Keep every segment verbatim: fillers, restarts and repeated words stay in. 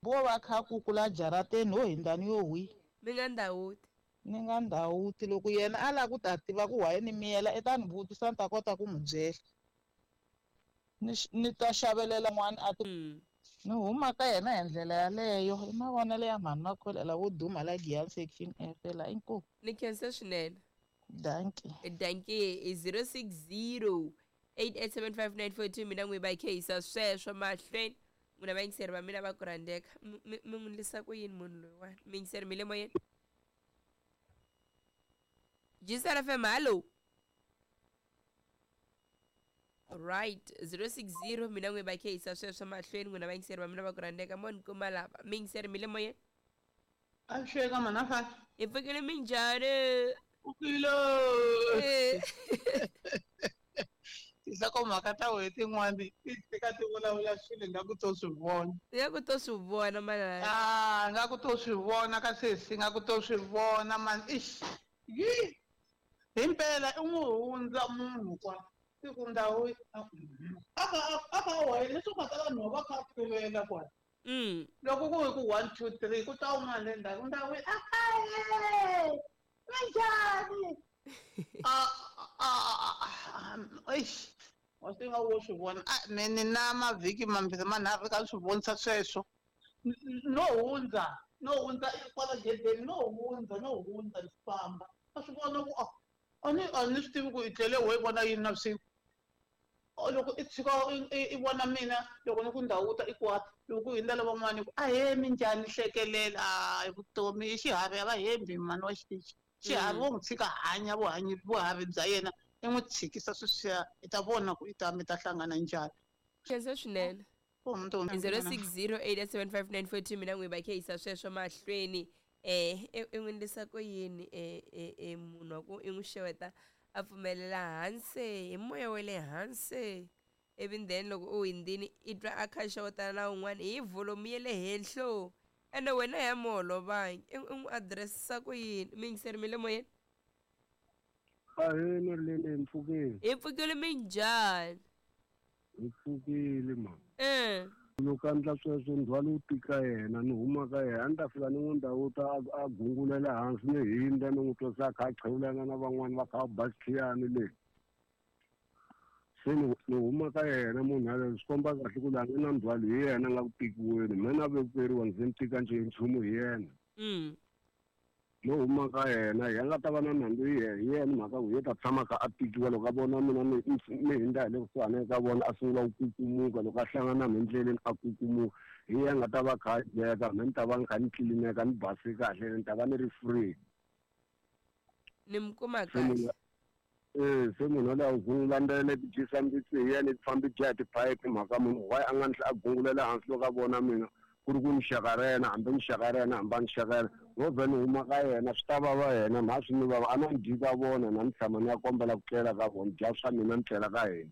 Vo va kha kukula jarateni ho hindani yo hwi. Mi nga ndhawuti. Ni nga ndhawuti loko yena a lava ku ta tiva ku why ni miyela i ta ni vutisa ni ta kota ku n'wi byela. Ni ni ta xavelela n'wana a ti Mm. ni huma ka yena hi ndlela yaleyo i mavonelo ya mhani Makholela wo duma la Giyani section F la inkomu. Ni khensa swinene. Dankie. Dankie i zero six zero eight eight seven five nine four two mina n'wi va khehisa sweswo mahlweni n'wina vayingiseri va mina va ku rhandzeka mi mi mi n'wi endlisa ku yini munhu loyiwani miyingiseri mi le moyeni G S F M, hallo. Right, zero six zero mina n'wi va khehisa sweswo mahlweni n'wina vayingiseri va mina va ku rhandzeka mo ni kuma lava miyingiseri mi le moyeni. Avuxeka mhana Fani. Hi pfukile, minjhani? Pfukile. Eh. Tinhlokomhaka ta wena tin'wani ti fika ti vulavula swilo nga ku to swi vona. Ya ku to swi vona manana. Ah, nga ku to swi vona ka sesi, nga ku to swi vona man. Ish. Yi. Himpela i n'wi hundza munhu kwa. Siku ndhawu aka aka wena leswi nga ta vanhu va kha tivela kwala. Mm. Loko ku hi ku one two three ku ta un'wana le ndzhaku ndhawu ahe minjhani? Ah ah eish. Wa swi nga wo swi vona. Ah me ni na mavhiki mambirhi manharhu ka swi vonisa sweswo. No hundza, no hundza kwala gedeni, no hundza, no hundza ni famba. A swi vona ku ah a ni a ni swi tivi ku i tlele wo i vona yini navusiku. Loko i tshika i vona mina loko ni ku ndhawuta i kwata loko ku hundza lavan'wana ku ahee minjhani hlekelela a vutomi i xiharhi a va hembi mhani wa xitichi xiharhi wo n'wi tshika hanya vuhanyi vuharhi bya yena i n'wi tshikisa sweswiya i ta vona ku i ta mi ta hlangana njhani. Khensa swinene. zero six zero eight seven five nine four two mina n'wi va khehisa sweswo mahlweni eh i n'wi endlisa ku yini eh eh munhu wa ku i n'wi xeweta a pfumelela hansi hi moya wa le hansi ivi then loko u hundzini i twa a kha xewetana na un'wana hi volume ya le henhlo ene wena ya mi holovangi i n'wi address-isa ku yini miyingiseri mi le moyeni. Ahee, Marilene, hi mpfukile. Hi pfukile, minjhani? Hi pfukile ma. Eh. Loko a endla sweswo ndzhwalo wu tika yena ni huma ka yena a ni ta fika ni n'wi ndhawuta a gungulela hansi ni hindza ni n'wi twa se a kha a qhewulana na van'wani va kha va ba xikhiyani le se ni ni huma ka yena munhu yaloye swi komba kahle ku la nga na ndzhwalo hi yena a nga ku tikiweni me na vekeriwa ndzi ni tika njhe nchumu hi yena. Mm. No huma ka yena hi nga ta va na nandzu hi yena hi yena mhaka ku ye ta tshama kha a tikiwa loko a vona mina ni ni hindza hi le kusuhani ka vona a sungula ku kukumuka loko a hlangana na mina endleleni a kukumuka hi yena nga ta va kha a dyeka me ni ta va ni kha ni tlilineka ni base kahle ni ta va ni ri free. Ni mi kuma Se munhu kahle. Eh se munhu yaloye a gungula ti dyisa mbitsi hi yena ti fambi dya hi tiphayiphi mhaka munhu why a nga ni a gungulela hansi loko a vona mina ku ri ku ni xaka ra yena hambi ni xaka ra yena hambi a ni xaka yena no vhe ni huma ka yena swi ta vava yena mha swi ni vava a na ni dyi ka vona na ni tshama ni ya kombela ku tlela ka vona dya swa mina ni tlela ka hina.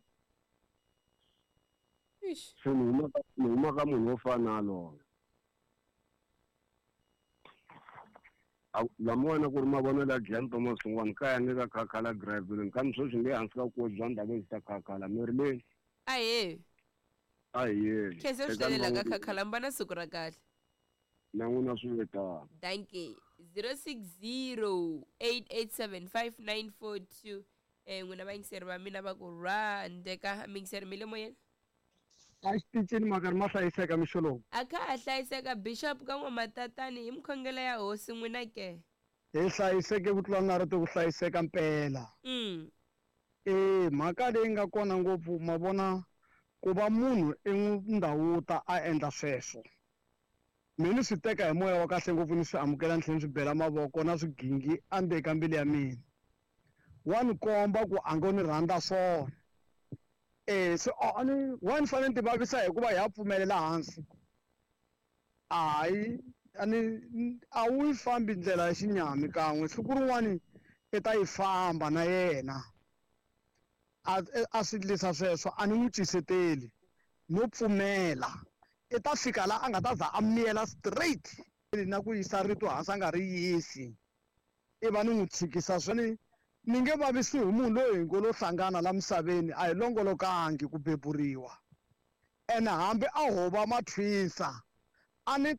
Ish. Se ni huma ka ni huma ka munhu wo fana na yaloye lamiwani ku ri mavonelo ya Giyani Thomas Hlongwane kaya ni ka Khakhala Graville kambe sweswi ni le hansi ka vukosi bya Ndhavezitha Khakhala Marilyn. Ahee. Ahee. Khensa swinene la ka Khakhala mi va na siku ra kahle. Na n'wina swi ve tano. Dankie. zero six zero eight eight seven five nine four two eh n'wina vayingiseri va mina va ku rhandeka miyingiseri mi le moyeni. A xitichini makari ma hlayiseka mixo lowu. A kha ha hlayiseka bishop ka n'wamatatani hi mikhongelo ya hosi n'wina ke. Hi hlayiseke ku tlula na rito ku hlayiseka mpela. Mm. E mhaka leyi nga kona ngopfu ma vona ku va munhu i n'wi ndhawuta a endla sweswo mina ni swi teka hi moya wa kahle ngopfu ni swi amukela ni tlhela ni swi bela mavoko na swigingi endzeni ka mbilu ya mina wa ni komba ku a ngo ni rhandza swona eh se a ni wa ni fanele ni ti vavisa hikuva ya pfumelela hansi hayi a ni a wu yi fambi ndlela ya xinyami kan'we siku rin'wani i ta yi famba na yena a a swi endlisa sweswo a ni n'wi ciseteli no pfumela i ta fika la a nga ta za a miyela straight na ku yisa rito hansi a nga ri yisi i va ni n'wi tshikisa swona ni nge vavisiwi hi munhu loyi hi ngo lo hlangana la misaveni a hi longolokangi ku beburiwa ene hambi a ho va mathwinsa a ni